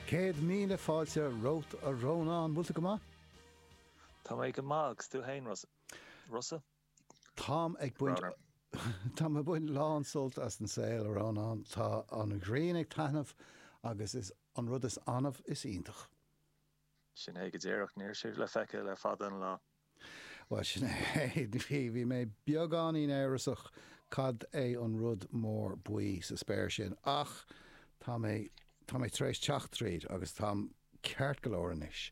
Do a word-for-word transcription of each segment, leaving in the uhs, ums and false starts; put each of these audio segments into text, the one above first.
Céad míle fáilte romhat, a Rónáin, bhfuil tú go maith? Tá mé go maith, agus tú féin, Rossa? Táim ag baint Táim ag baint lán sult as an saol, a Rónáin. Tá an ghrian ag taitneamh agus is an rud is annamh is iontach. Sin é go díreach, níl sé le feiceáil le fada an lá. Bhuel, sin é, bhí bhí mé beagáinín amhrasach cad é an rud mór buí sa spéir sin, ach tá mé tá mé tar éis teacht tríd agus táim ceart go leor anois.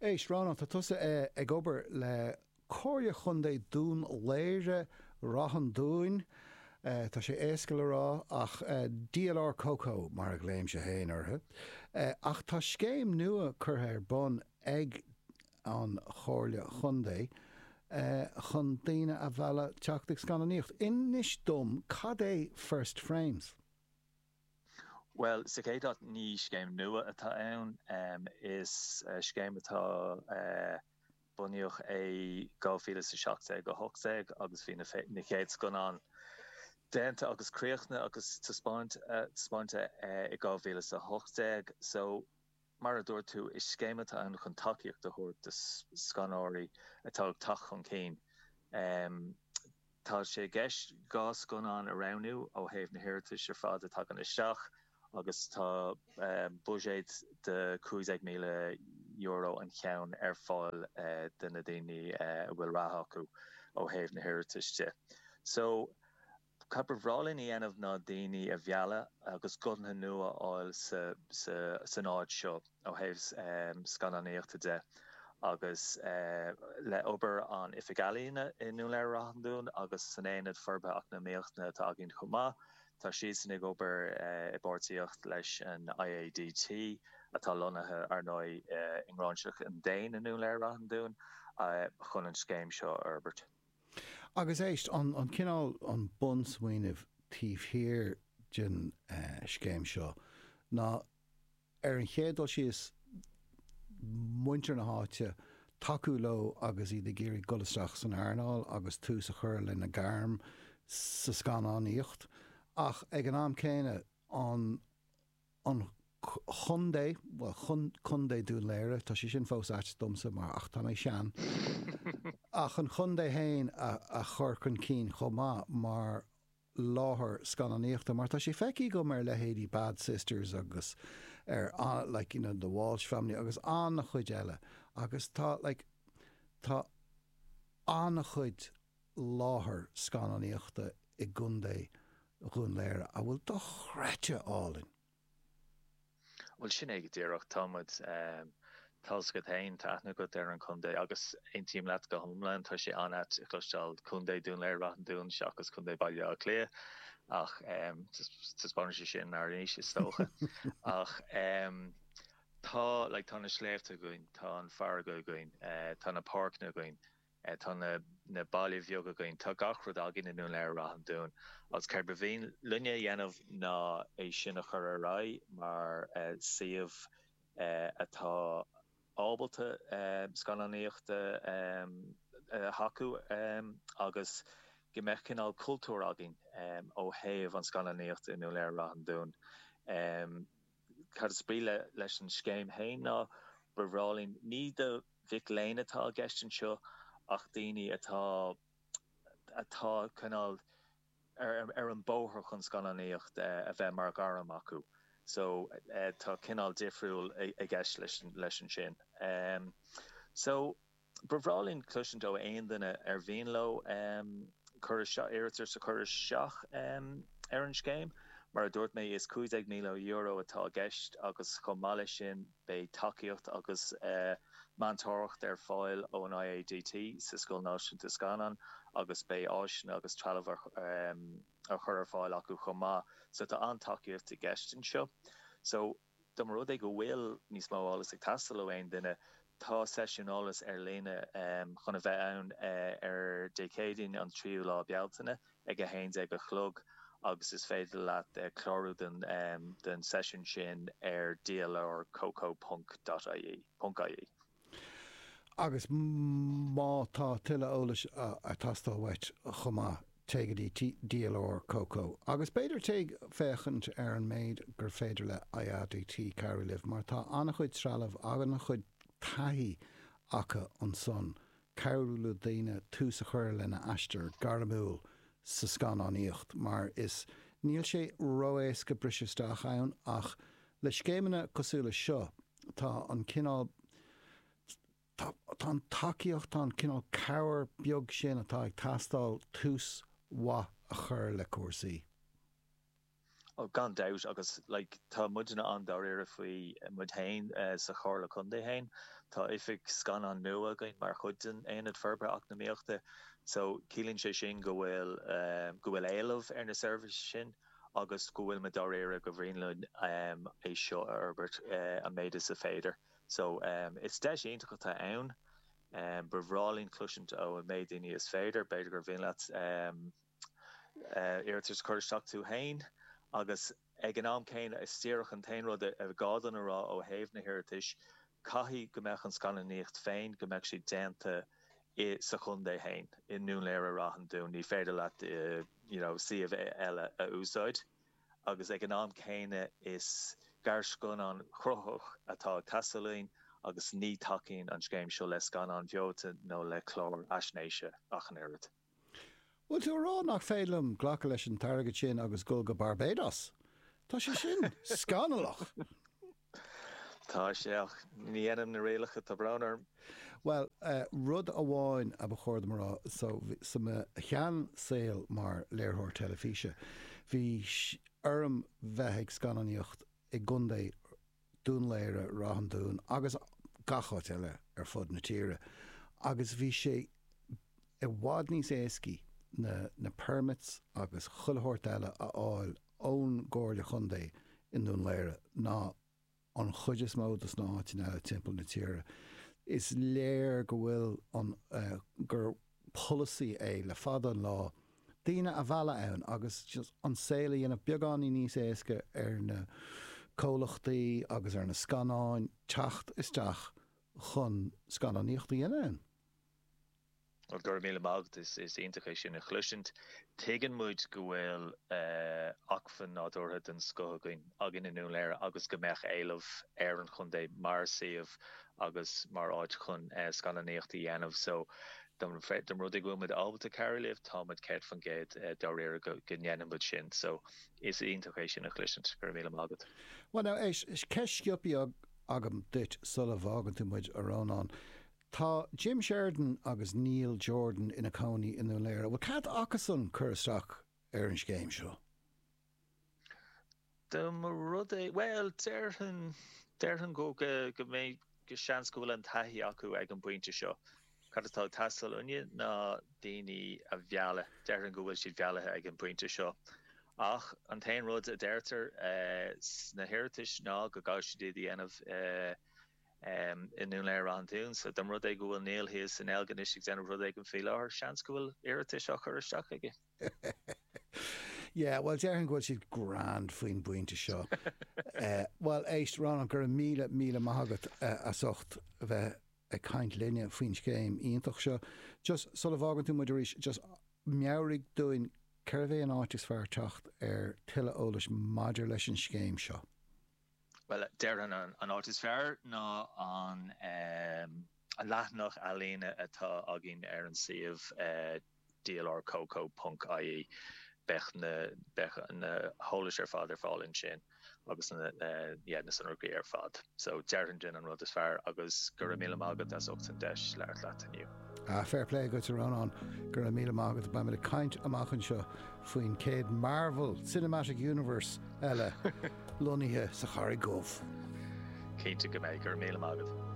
Éist, Rónán, tá tusa ag obair le Comhairle Chontae Dún Laoghaire Ráth an Dúin, tá sé éasca le rá, ach D L R CoCo mar a ghlaoimse féin orthu. Ach tá scéim nua curtha ar bun ag an Chomhairle Chontae chun daoine a mhealladh teacht ag scannánaíocht. Inis dom, cad é First Frames? Bhuel, sa chéad áit, ní scéim nua atá ann. Is scéim atá bunaíodh é dhá mhíle is a seacht déag, a hocht déag agus bhí na chéad scannáin déanta agus críochnaithe agus taispeánta i dhá mhíle is a hocht déag. So, mar a dúirt tú, is scéim atá ann chun tacaíocht a thabhairt do scannánóirí atá ag teacht chun cinn. Tá sé i gceist dhá scannán a roghnú ó thaobh na hiarratais ar fad a thagann isteach agus tá buiséad de cúig déag míle euro an cheann ar fáil do na daoine a bhfuil rath acu ó thaobh na hiarratais de. So, cad ba bhreá linn a dhéanamh ná daoine a mhealladh agus guthanna nua a fháil san áit seo ó thaobh scannánaíochta de agus le obair an Oifig Ealaíona i nDún Laoghaire-Ráth an Dúin agus san Aonad Forbartha Eacnamaíochta atá againn chomh maith. Tá siadsan ag obair i bpáirtíocht leis an I A D T, atá lonnaithe, ar ndóigh, i nGráinseach an Déin i nDún Laoghaire-Ráth an Dúin, chun an scéim seo a fhorbairt. Agus éist, an an cineál, an bunsmaoineamh taobh thiar den scéim seo ná, ar an chéad dul síos, muintir na háite, tacú leo agus iad ag iarraidh dul isteach san earnáil agus tús a chur lena ngairm sa scannánaíocht, ach ag an am céanna an an chontae, bhuel, Contae Dún Laoghaire, tá sé sin fós ait domsa mar ach tá mé sean, ach an chontae féin a a chur chun cinn chomh maith mar láthair scannánaíochta, mar tá sé feicthe agam ar leithéidí Bad Sisters agus ar like you know the Walsh Family agus an-chuid eile agus tá like tá an-chuid láthair scannánaíochta i gContae Dhún Laoghaire a bhfuil dochreidte álainn. Bhuel, sin é go díreach. Tá muid, tá 'fhios agat féin, tá aithne agat ar an chontae agus aontaím leat go hiomlán, tá sé an-ait a chloisteáil Contae Dún Laoghaire-Ráth an Dúin seachas Contae Baile Átha Cliath ach taispeánann sé sin ár n-aois is dócha. Ach tá, like, tá na sléibhte againn, tá an fharraige againn, tá na páirceanna againn, Tá na na baile bheaga againn, tá gach rud againn i nDún Laoghaire-Ráth an Dúin agus céard ba mhian linne a dhéanamh ná é sin a chur ar aghaidh mar suíomh atá ábalta scannánaíochta a thacú agus go mbeadh cineál cultúr againn ó thaobh an scannánaíochta i nDún Laoghaire-Ráth an Dúin. Cad is brí leis an scéim féin ná ba bhreá linn ní do mhic léinn atá i gceist anseo ach daoine atá atá cineál ar ar an bóthar chun scannánaíocht a bheith mar ghairm acu. So tá cineál difriúil i gceist leis leis ansin. So ba bhreá linn cloisint ó aon duine ar mhian leo cur isteach, iarratas a chur isteach ar an scéim. Mar a dúirt mé, is cúig déag míle euro atá i gceist agus chomh maith leis sin beidh tacaíocht agus meantóireacht ar fáil ón I A D T sa Scoil Náisiúnta Scannán agus beidh áiseanna agus trealamh á chur ar fáil acu chomh maith. So tá an-tacaíocht i gceist anseo. So dá mba rud é go bhfuil níos mó eolas ag teastáil ó aon duine, tá seisiún eolais ar líne chun a bheith ann ar Dé Céadaoin an tríú lá Bealtaine ag a haon déag a chlog agus is féidir leat clárú don don seisiún sin ar dlrcoco ponc dot ie ponc ie. Agus má tá tuilleadh eolais ag teastáil uait chomh maith, Téigh go dtí DLR CoCo. Agus b'fhéidir téigh féachaint ar an méid gur féidir le IADT cabhrú libh, mar tá an-chuid trealamh agus an-chuid taithí acu ansan cabhrú le daoine tús a chur lena aistear gairmiúil sa scannánaíocht, mar is níl sé ró-éasca briseadh isteach ann ach le scéimeanna cosúil le seo tá an cineál tá tá an tacaíocht, tá an cineál cabhair beag sin atá ag teastáil tús mhaith a chur le cúrsaí. Oh, gan dabht agus like, tá muidne an-dáiríre faoi muid féin uh, sa Chomhairle Contae féin. Tá oifig scannán nua againn mar chuid den Aonad Forbartha Eacnamaíochta, so ciallaíonn sé sin go bhfuil um, go bhfuil éileamh ar na seirbhísí sin agus go bhfuil muid dáiríre go mb'fhéidir linn um, é seo a fhorbairt uh, an méid is féidir. So um, is deis iontach atá ann. Um, ba bhreá linn cloisint ó an méid daoine is féidir, b'fhéidir gur mhian leat um, uh, iarratas cur isteach tú féin agus ag an am céanna is díreach an t-aon rud a gá dom a rá ó thaobh na hiarratais, caithfidh go mbeadh an scannánaíocht féin go mbeadh sé déanta i sa chontae féin i nDún Laoghaire Rath an Dúin, ní féidir leat uh, you know, suíomh eile a úsáid. Agus ag an am céanna is gearrscannán cruthaitheach atá ag teastáil uainn agus ní tacaíonn an scéim seo le scannán beoite nó le clár fhaisnéise ach an oiread. Bhfuil tú ag rá nach féidir liom glacadh leis an t-airgead sin agus dul go Barbados? Tá sé sin scannalach! Tá sé ach ní dhéanaim na rialacha tá brón orm. Well, uh, rud amháin a ba chóir dom a rá so sa mo sheansaol mar léiritheoir teilifíse, bhí orm bheith ag scannánaíocht i gContae Dún Laoghaire, Ráth an Dúin agus gach áit eile ar fud na tíre agus bhí sé i bhfad níos éascaí na, na permits agus chuile shórt eile a fháil ón gComhairle Chontae i nDún Laoghaire ná an chuid is mó dos na háiteanna eile timpeall na tíre. Is léir go bhfuil an uh, gur polasaí é le fada an lá daoine a mhealladh ann agus just an saol a dhéanamh beagáinín níos éasca ar na comhlachtaí agus ar na scannáin teacht isteach chun scannánaíocht a dhéanamh ann. Well, go raibh míle maith agat is is iontach é sin a chloisint. Tuigeann muid go bhfuil uh, acmhainn nádúrtha den scoth againn againn i nDún Laoghaire agus go mbeadh éileamh ar an chontae mar suíomh agus mar áit chun uh, scannánaíocht a dhéanamh. So dá mba rud é go bhfuil muid ábalta cabhrú libh tá muid céad faoin gcéad uh, dáiríre go, go ndéanann muid sin. So is iontach é sin a chloisint go raibh míle maith agat. Well now éist ceist sciobtha agam duit sula bhfágann tú muid a Rónán. Tá Jim Sheridan agus Neil Jordan ina cónaí i nDún Laoghaire. Bhfuil cead acusan cur isteach ar an scéim seo. Dá mba rud é well déarfainn déarfainn go go go mbeidh go seans go bhfuil an taithí acu ag an bpointe seo. Cad atá ag teastáil uainne ná daoine a mhealladh déarfainn go bhfuil siad meallta ag an bpointe seo. Ach an t-aon rud a deirtear uh, sna hiarratais ná go gcaithfidh siad iad a dhéanamh uh, um, i nDún Laoghaire Rath an Dúin, so dá mba rud é go bhfuil Neil thíos in Elgin ag déanamh rud éigin faoi láthair seans go bhfuil iarratais á chur isteach aige. Yeah, well déarfainn go bhfuil siad grand faoin bpointe seo. uh, well éist Rónán go raibh míle míle maith agat uh, as ucht a bheith ag caint linne faoin scéim iontach seo. Just sula bhfágann tú muid arís, just meabhraigh dúinn cérbh é an áit is fearr teacht ar tuilleadh eolais maidir leis an scéim seo. Well déarfainn an, an áit is fearr ná an um, an leathanach ealaíne atá againn ar an suíomh uh, dlrcoco.ie beidh na beidh na heolais ar fad ar fáil ansin agus na uh, yeah, na sonraí ar fad. So déarfainn sin an rud is fearr agus go raibh míle maith agat as ucht an deis labhairt leat inniu. Ah, fair play duit Rónán go raibh míle maith agat beimid ag caint amach anseo faoin céad Marvel Cinematic Universe eile lonnaithe sa Charraig Dhubh. Cinnte go mbeidh go raibh míle maith agat.